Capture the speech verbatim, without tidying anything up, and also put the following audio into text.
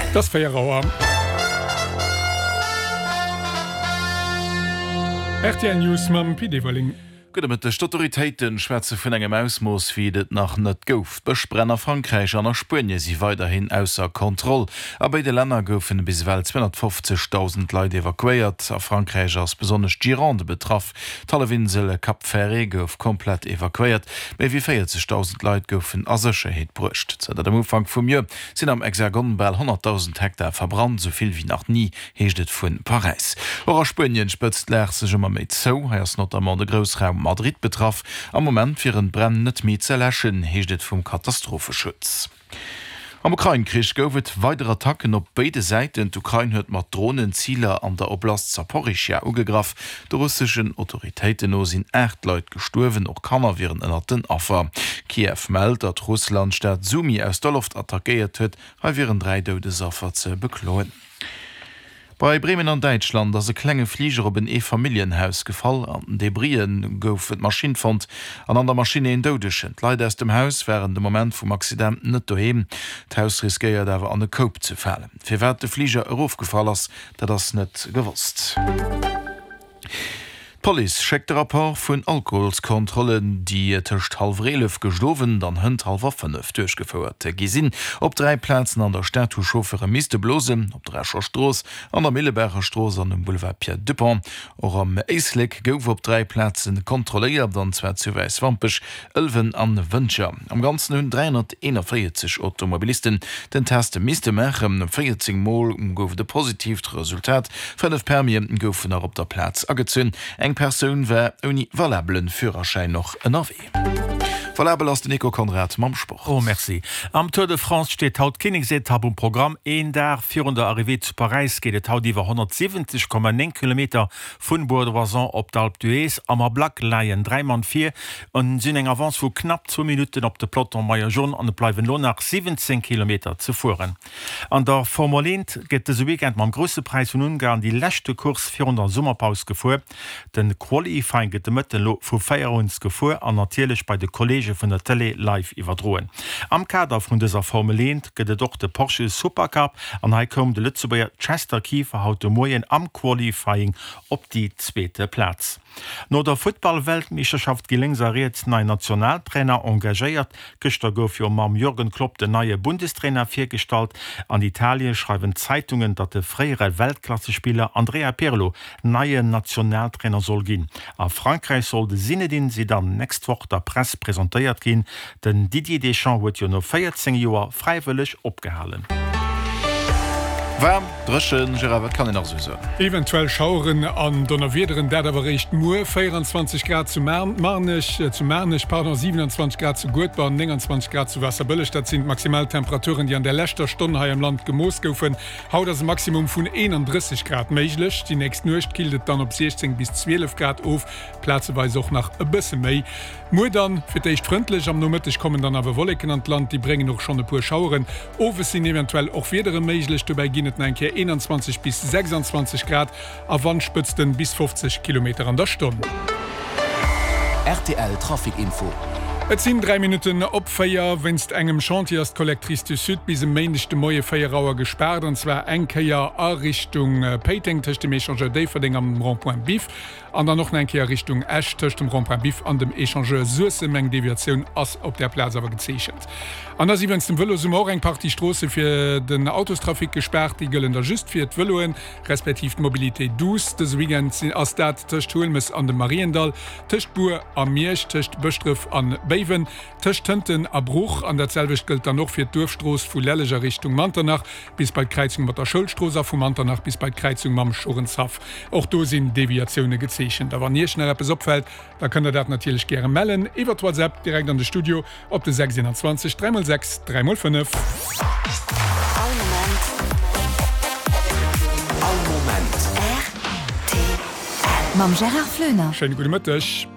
Et ass véier Auer. Rtl News mam Pit Everling. Gudde Mëtteg. D'Autoritéite schwätze vun engem Ausmooss, wéi et et nach net gouf. D'Bëschbränn a Frankräich an a Spuenie si weiderhin ausser Kontroll. A béide Länner goufen bis ewell zweehonnertfofzegdausend Leit evakuéiert. A Frankräich ass besonnesch d'Gironde betraff. D'Hallefinsel Cap Ferret gouf komplett evakuéiert. Méi wéi véierzegdausend Leit goufen a Sécherheet bruecht. Zënter dem Ufank vum Joer sinn am Hexagon bal honnertdausend Hektar verbrannt, esou vill wéi nach ni, heescht et vu Paräis. Och a Spuenien spëtzt d'Lag sech ëmmer méi zou. Hei ass notamment de Groussraum Madrid betraff. Am Moment wieren d'Bränn net méi ze läschen, heescht et vum Katastropheschutz. Am Ukrain-Krich gouf et weider Attacken op béide Säiten. D'Ukrain huet mat Dronen Ziler an der Oblast Saporischschja ugegraff. De russeschen Autoritéiten no sinn aacht Leit gestuerwen, och Kanner wieren ënnert den Affer. Kiew mellt, datt Russland d'Stad Sumy aus der Loft attackéiert huet. Hei wieren dräi Doudesaffer ze bekloen. Bei Bremen an Däitschland ass e klenge Fliger op en Eefamilljenhaus gefall. An den Debrisen gouf d'Maschinn fonnt an an der Maschinn een Doudegen. D'Leit aus dem Haus waren de Moment vum Accident net doheem. D'Haus riskéiert awer an e Koup ze falen. Firwat de Fliger erofgefall ass, dat ass net gewosst. D'Police schéckt de Rapport vun Alkoholskontrollen, déi tëscht hallwer eelef gëscht Owend an hënt hallwer fënnef duerchgefouert gi sinn. Op dräi Plazen an der Stad hu Chauffeure misste blosen, op der Escher Strooss, an der Millebaacher Strooss an um Boulevard Pierre Dupong. Och am Éislek gouf op dräi Plaze kontrolléiert, an zwar zu Wäiswampech, Ëlwen an Wëntger. Am Ganzen hunn dräihonnerteenavéierzeg Automobilisten den Test misste maachen. véierzéng Mol gouf et e positiivt Resultat, fënnef Permie goufen nach op der Plaz agezunn. Eng Persoun war ouni valabelen Führerschäin och ënnerwee. Valabel ass den Nico Conrad mam Sport. Oh merci. Am Tour de France steet haut d'Kinneksetapp um Programm. Een Dag virun der Arrivée zu Paräis geet et haut iwwer honnertsiwwenzeg Komma néng Kilometer vun Bourg-d'Oisans op d'Alpe d'Huez. Am Ablack leien dräi Mann vir an si hunn eng Avance vu knapp zwou Minutten op de Peloton Maillot Jaune an et bleiwen elo nach siwwenzéng Kilometer ze fueren. An der Formel eent gëtt dëse Weekend mam Grousse Präis vun Ungarn déi leschte Course virun der Summerpaus gefuer. Den Qualifying gëtt de Mëtten elo vu véier Auer uns gefuer an natierlech bei de Kollege vun der Tëlee live iwwerdroen. Am Kader vun dëser Formel eent gëtt et och de Porsche Supercup an hei koum de Lëtzebuerger Chester Kieffer haut de Moien am Qualifying op déi zweete Plaz. No der Futtball-Weltmeeschterschaft gi lénks a riets nei Nationaltrainer engagéiert. Gëschter gouf jo mam Jürgen Klopp den neie Bundestrainer virgestallt. An Italien schreiwen d'Zeitungen, datt de fréiere Weltklassespiller Andrea Pirlo neien Nationaltrainer soll ginn. A Frankräich soll de Zinedine Zidane nächst Woch der Press presentéiert ginn. Den Didier Deschamps huet jo no véierzéng Joer fräiwëlleg opgehalen. Waarm, dréchen, Gérard, wat kann een nach esou soen? Eventuell Schaueren an Donnerwiederen, dat awer eréischt muer. véieranzwanzeg Grad zu Marnech, zu Maarnech, pardon, siwenanzwanzeg Grad zu Guedber, nénganzwanzeg Grad zu Waasserbëlleg, dat sinn d'Maximaltemperaturen, déi an der leschter Stonn hei am Land gemooss goufen. Haut ass e Maximum vun eenandrësseg Grad méiglech. Déi nächst Nuecht killt et dann op siechzéng bis zwielef Grad of, plazeweis och nach e bësse méi. Muer dann fir d'éischt frëndlech, am Nomëtteg kommen dann awer Wolleken an d'Land, déi bréngen och schonn e puer Schaueren. Owes sinn eventuell och Wiedere méiglech, dobäi ginn et nach eng Kéier eenanzwanzeg bis sechsanzwanzeg Grad a Wandspëtzten bis fofzeg Kilometer an der Stonn. Rtl Trafic Info. Et sinn dräi Minutten op véier. Wéinst engem Chantier ass d'Collectrice du Sud bis e Méindeg de Moie véier Auer gespaart, an zwar eng Kéier a Richtung Péiteng tëscht dem Echangeur Déifferdeng an dem Rond-point Biff an dann och nach eng Kéier Richtung Esch tëscht dem Rond-point Biff an dem Echangeur Suessem. Eng Deviatioun ass op där Plaz awer gezeechent. An da si wéinst dem Vëlosummer och eng Partie Stroosse fir den Autostrafic gespaart. Déi gëllen da just fir d'Vëloen, respektiv d'Mobilité douce. Dëse Weekend ass dat tëscht Huelmes an dem Mariendall, tëscht Bur a Miersch, tëscht Bëschdref an Béiwen, tëscht Tënten a Bruch. An dat selwecht gëllt dann och fir d'Duerfstrooss vu Lelleg a Richtung Manternach bis bei d'Kräizung mat der Schoulstrooss a vu Manternach bis bei d'Kräizung mam Schorenshaff. Och do sinn Deviatioune gezeechent. A wann Iech nach eppes opfält, da kënnt der dat natierlech gäre mellen iwwert WhatsApp direkt an de Studio op de sechs eenanzwanzeg dräi mol sechs dräi mol fënnef. All Moment. All Moment. Rtl. Mam Gérard Floener. Schéine gudde Mëtteg.